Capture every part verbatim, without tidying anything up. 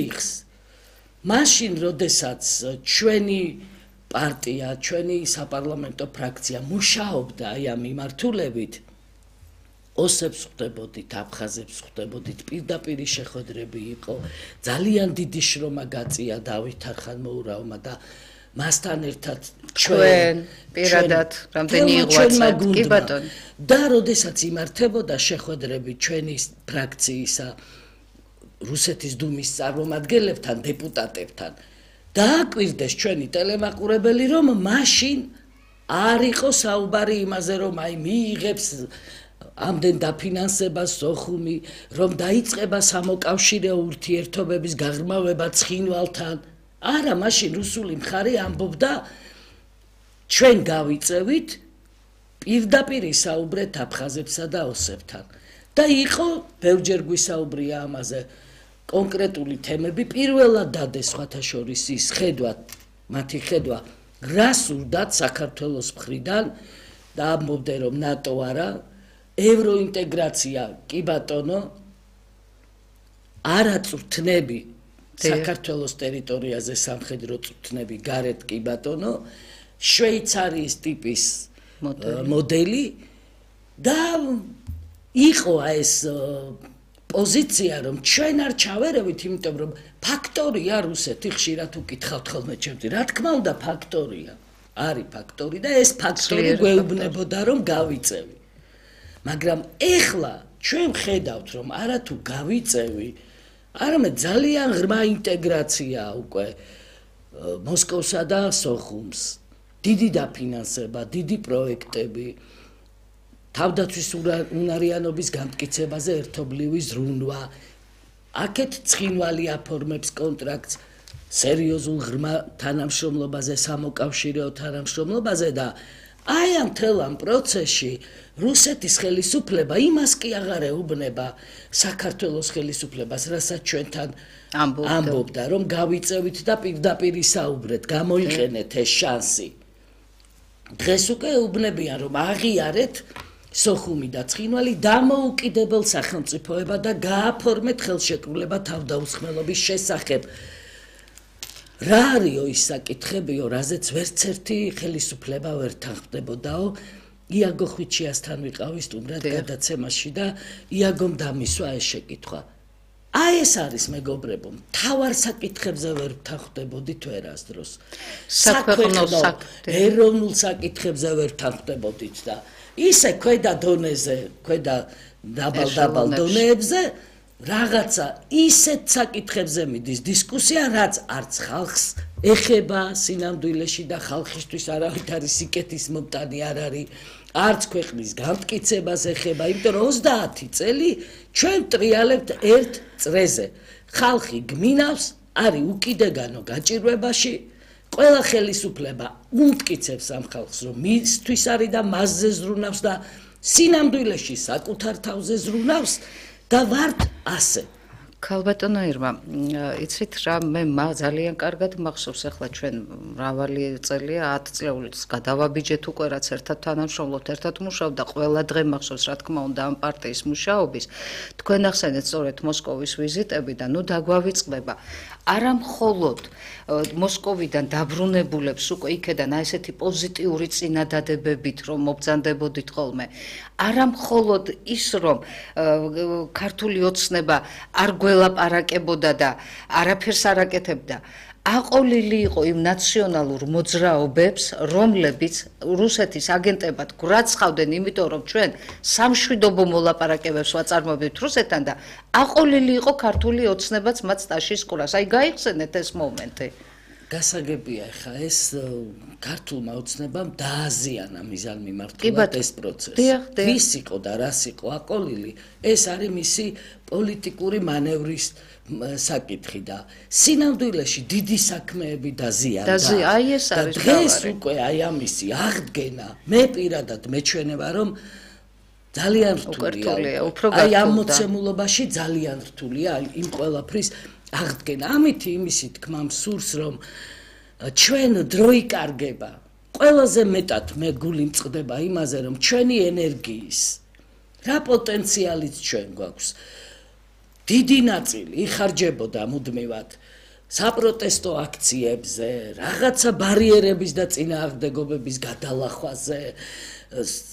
იხს მაშინ როდესაც ჩვენი პარტია, ჩვენი საპარლამენტო ფრაქცია მუშაობდა აი ამ მიმართულებით, ოსებს ხვდებოდით, აფხაზებს ხვდებოდით, პირდაპირი შეხვედრები იყო, ძალიან დიდი შრომა გაწია დავით არხანმოურავმა და მასთან ერთად ჩვენ პირადად რამდენი იღვაწეთ, კი ბატონო. და როდესაც იმართებოდა შეხვედრები ჩვენი ფრაქციისა რუსეთის დუმის წარმომადგენლებთან, დეპუტატებთან, დააკვირდეს ჩვენი ტელემაყურებელი, რომ მაშინ არ იყო საუბარი იმაზე, რომ აი მიიღებს ამდენ დაფინანსებას სოხუმი, რომ დაიწყება სამოკავშირეო ურთიერთობების გაღრმავება ცხინვალთან. არა, მაშინ რუსული მხარე ამბობდა ჩვენ გავიწევით პირდაპირ ისაუბრეთ აფხაზებსა და ოსებთან. და იყო ბევრჯერ გვისაუბრია ამაზე კონკრეტული თემები, პირველად დადეს სხვათა შორის ის ხედვა, მათი ხედვა, რა სურდათ საქართველოს მხრიდან და ამბობდნენ რომ ნატო არა, ევროინტეგრაცია კი ბატონო, არა წვრთნები საქართველოს ტერიტორიაზე სამხედრო წვრთნები გარეთ კი ბატონო, შვეიცარიის ტიპის მოდელი და იყო ეს პოზიცია, რომ ჩვენ არ ჩავერევით, იმიტომ რომ ფაქტორია რუსეთი, ხშირად უკითხავთ ხოლმე ჩემთვის, რა თქმა უნდა ფაქტორია, არის ფაქტორი და ეს ფაქტორი გვეუბნებოდა რომ გავიწევი. მაგრამ ეხლა ჩვენ ხედავთ რომ არა თუ გავიწევი, არამედ ძალიან ღრმა ინტეგრაცია უკვე მოსკოვსა და სოხუმს, დიდი დაფინანსება, დიდი პროექტები, თავდაცვის უნარიანობის განმტკიცებაზე ერთობლივი ზრუნვა, აქეთ ცხინვალი აფორმებს კონტრაქტს სერიოზულ ღრმა თანამშრომლობაზე, სამოკავშირეო თანამშრომლობაზე და აი ამ მთელ ამ პროცესში რუსეთის ხელისუფლება იმას კი აღარ ეუბნება საქართველოს ხელისუფლებას, რასაც ჩვენთან ამბობდა, რომ გავიწევით და პირდაპირ ისაუბრეთ, გამოიყენეთ ეს შანსი. დღეს უკვე ეუბნებიან, რომ აღიარეთ სოხუმი და ცხინვალი დამოუკიდებელ სახელმწიფოება და გააფორმეთ ხელშეკრულება თავდაუსხმელობის შესახებ. რა არისო ის საკითხებიო, რაზეც ვერც ერთი ხელისუფლება ვერ თანხმდებოდაო, იაგო ხვიჩიასთან ვიყავი სტუმრად გადაცემაში და იაგომ დამისვა ეს შეკითხვა. აი ეს არის მეგობრებო, მთავარ საკითხებზე ვერ თანხმდებოდით ვერასდროს. საქვეყნო ეროვნულ საკითხებზე ვერ თანხმდებოდით და ისე ქვედა დონეზე, ქვედა დაბალ-დაბალ დონეებზე რაღაცა ისეთ საკითხებზე მიდის დისკუსია, რაც არც ხალხს ეხება სინამდვილეში და ხალხისთვის არავით არის სიკეთის მომტანი არ არის, არც ქვეყნის განმტკიცებას ეხება, იმიტომ რომ ოცდაათი წელი ჩვენ ტრიალებთ ერთ წრეზე. ხალხი გმინავს, არის უკიდეგანო გაჭირვებაში, ყველა ხელისუფლება უმტკიცებს ამ ხალხს, რომ მისთვის არის და მასზე ზრუნავს და სინამდვილეში საკუთარ თავზე ზრუნავს და ვართ ასე. ქალბატონო ირმა, იცით რა, მე ძალიან კარგად მახსოვს, ახლა ჩვენ მრავალი წელია, ათი წლეულს გადავაბიჯეთ უკვე, რაც ერთად თანამშრომლობთ, ერთად მუშაობთ და ყველა დღე მახსოვს, რა თქმა უნდა, ამ პარტიის მუშაობის. თქვენ ახსენეთ სწორედ მოსკოვის ვიზიტები და ნუ დაგვავიწყდება. არა მხოლოდ მოსკოვიდან დაბრუნებულებს უკვე იქედან აი ესეთი პოზიტიური წინადადებებით რომ მობრძანდებოდით ხოლმე. არა მხოლოდ ის რომ ქართული ოცნება არ გველაპარაკებოდა და არაფერს არ აკეთებდა. აყოლილი იყო იმ ნაციონალურ მოძრაობებს, რომლებიც რუსეთის აგენტებად გვრაცხავდნენ, იმიტომ რომ ჩვენ სამშვიდობო მოლაპარაკებებს ვაწარმოებთ რუსეთთან და აყოლილი იყო ქართული ოცნებაც მათ სტაშის ყურას. აი გაიხსენეთ ეს მომენტი. გასაგებია ხა ეს ქართულმა ოცნებამ დააზიანა მიზანმიმართულად ეს პროცესი. ვის იყო და რას იყო აყოლილი, ეს არის მისი პოლიტიკური მანევრის საკითხი და სინამდვილეში დიდი საქმეები დაზიანდა. აი ეს არის დღეს უკვე აი ამისი აღდგენა, მე პირადად მეჩვენება რომ ძალიან რთულია. აი ამ მოცემულობაში ძალიან რთულია იმ ყველაფრის აღდგენა. ამით იმისი თქმა მსურს რომ ჩვენ დრო იკარგება. ყველაზე მეტად მე გული მწყდება იმაზე რომ ჩვენი ენერგიის რა პოტენციალიც ჩვენ გვაქვს. დიდი ნაწილი იხარჯებოდა მუდმივად საპროტესტო აქციებზე, რაღაცა ბარიერების და წინააღმდეგობების გადალახვაზე,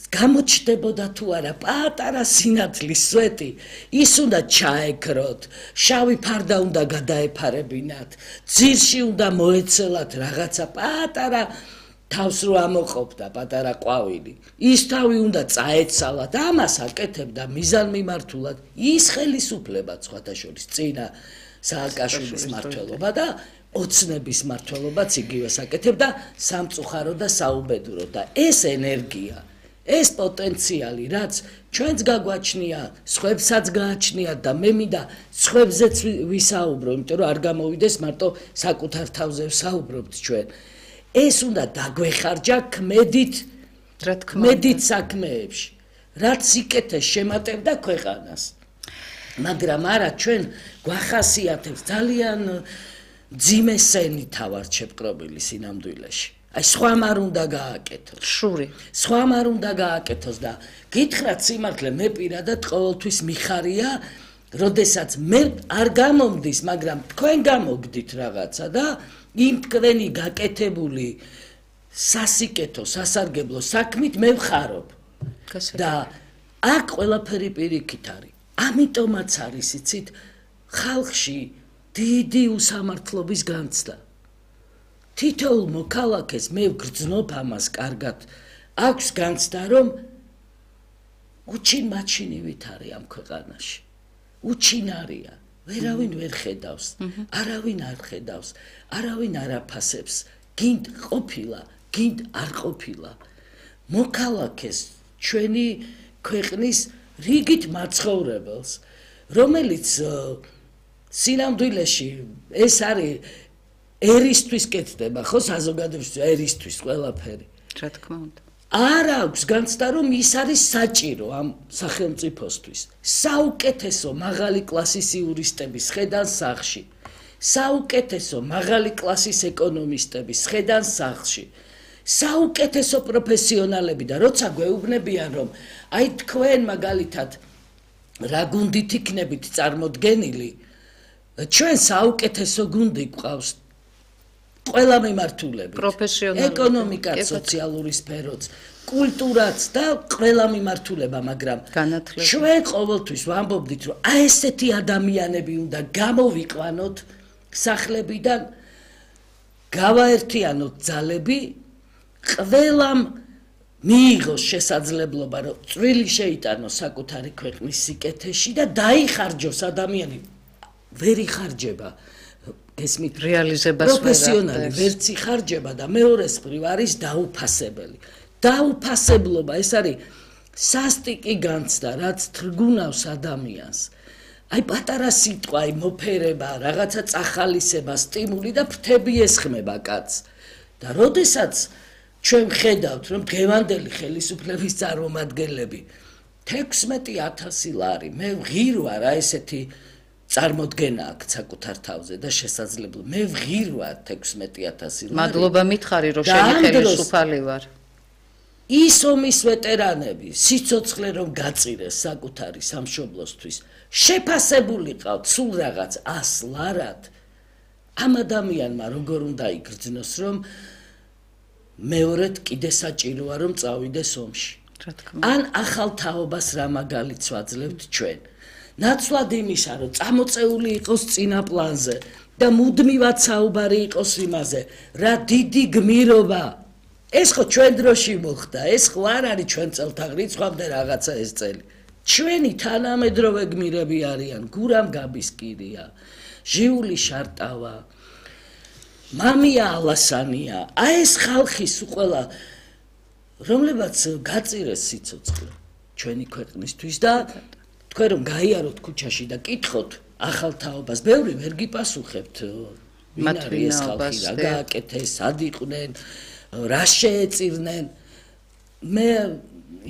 გამოჩნდებოდა თუ არა პატარა სინათლის სვეტი, ის უნდა ჩაეკროთ, შავი ფარდა უნდა გადაეფარებინათ, ძირში უნდა მოეცელათ რაღაცა პატარა თავს რო ამოყოფდა პატარა ყვავილი, ის თავი უნდა წაეცალათ, ამას აკეთებდა მიზანმიმართულად ის ხელისუფლება სხვათა შორის წინა სააკაშვილის მმართველობა და ოცნების მმართველობაც იგივეს აკეთებდა სამწუხარო და საუბედურო და ეს ენერგია, ეს პოტენციალი, რაც ჩვენც გაგვაჩნია, სხვებსაც გააჩნიათ და მე მინდა სხვებზეც ვისაუბრო, იმიტომ რომ არ გამოვიდეს მარტო საკუთარ თავზე ვსაუბრობთ ჩვენ. ეს უნდა დაგვეხარჯა ქმედით, რა თქმა უნდა, ქმედით საქმეებში, რაც სიკეთეს შემატებდა ქვეყანას. მაგრამ არა ჩვენ გვახასიათებს ძალიან ძიმე სენით ავართ შეპყრობილი სინამდვილეში. აი სხვამ არ უნდა გააკეთოს. შური. სხვამ არ უნდა გააკეთოს და გითხრათ სიმართლე, მე პირადად ყოველთვის მიხარია, როდესაც მე არ გამომდის, მაგრამ თქვენ გამოგდით რაღაცა და იმ თქვენი გაკეთებული სასიკეთო, სასარგებლო საქმით მე ვხარობ. და აქ ყველაფერი პირიქით არის. ამიტომაც არის, იცით, ხალხში დიდი უსამართლობის განცდა. თითოეულ მოქალაქეს მე ვგრძნობ ამას კარგად. აქვს განცდა, რომ უჩინ-მაჩინივით არის ამ ქვეყანაში. უჩინარია. ვერავინ ვერ ხედავს, არავინ არ ხედავს, არავინ არ აფასებს. გინდ ყოფილა, გინდ არ ყოფილა. მოქალაქეს ჩვენი ქვეყნის რიგით მაცხოვრებელს, რომელიც სინამდვილეში ეს არის ერისთვის კეთდება, ხო, საზოგადოებისთვის ერისთვის ყველაფერი. რა თქმა უნდა. არ აქვს განცდა, რომ ის არის საჭირო ამ სახელმწიფოსთვის. საუკეთესო მაღალი კლასის იურისტების ხედან სახლში, საუკეთესო მაღალი კლასის ეკონომისტების ხედან სახლში, საუკეთესო პროფესიონალები და როცა გვეუბნებიან, რომ აი თქვენ მაგალითად რა გუნდით იქნებით წარმოდგენილი, ჩვენ საუკეთესო გუნდი გვყავს ყველა მიმართულებით, ეკონომიკაც, სოციალური სფეროც, კულტურაც და ყველა მიმართულება, მაგრამ ჩვენ ყოველთვის ვამბობდით, რომ აი ესეთი ადამიანები უნდა გამოვიყვანოთ სახლებიდან, გავაერთიანოთ ძალები, ყველამ მიიღოს შესაძლებლობა, რომ წვლილი შეიტანოს საკუთარი ქვეყნის სიკეთეში და დაიხარჯოს ადამიანი. ვერ იხარჯება ესმით რეალიზებას პროფესიონალი ვერც იხარჯება და მეორეს მხრივ არის დაუფასებელი. დაუფასებლობა ეს არის სასტიკი განცდა, რაც თრგუნავს ადამიანს. აი პატარა სიტყვა, აი მოფერება, რაღაცა წახალისება, სტიმული და ფრთები ესხმება კაცს. და როდესაც ჩვენ ხედავთ, რომ დღევანდელი ხელისუფლების წარმომადგენლები თექვსმეტი ათასი ლარი, მე ვღირვა რა ესეთი წარმოდგენა აქვს საკუთარ თავზე და შესაძლებლობა. მე ვღირვა თექვსმეტი ათასი ლარი. მადლობა მითხარი, რომ შენი ხელისუფალი ვარ. ის ომის ვეტერანები, სიცოცხლე რომ გაწირეს საკუთარი სამშობლოსთვის, შეფასებული ყავთ სულ რაღაც ას ლარად. ამ ადამიანმა როგორ უნდა იგრძნოს, რომ მეორედ კიდე საჭიროა რომ წავიდეს ომში. ან ახალ თაობას რა მაგალითს ვაძლევთ ჩვენ. ნაცვლად იმისა, რომ წამოწეული იყოს წინა პლანზე და მუდმივად საუბარი იყოს იმაზე, რა დიდი გმირობა. ეს ხო ჩვენ დროში მოხდა, ეს ხო არ არის ჩვენ წელთაღრიცხვამდე რაღაცა ეს წელი. ჩვენი თანამედროვე გმირები არიან, გურამ გაბისკირია, ჟიული შარტავა, მამია ალასანია. აი ეს ხალხის უყველა, რომლებაც გაწირეს სიცოცხლე ჩვენი ქვეყნისთვის და თქვენ რომ გაიაროთ ქუჩაში და კითხოთ ახალ თაობას, ბევრი ვერ გიპასუხებთ. ვინ არის ეს ხალხი, რა გააკეთეს, სად იყვნენ, რა შეეწირნენ. მე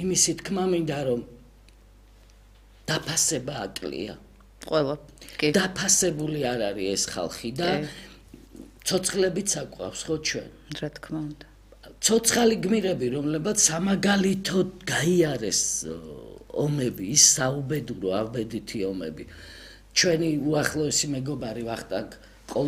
იმისი თქმა მინდა რომ დაფასება აკლია. ყველა. დაფასებული არ არის ეს ხალხი და ცოცხლებიც აყვავს ხო ჩვენ. რა თქმა უნდა. ცოცხალი გმირები, რომლებაც სამაგალითოდ გაიარეს ომები, ის საუბედურო, ავბედითი ომები ჩვენი უახლოესი მეგობარი ვახტანგ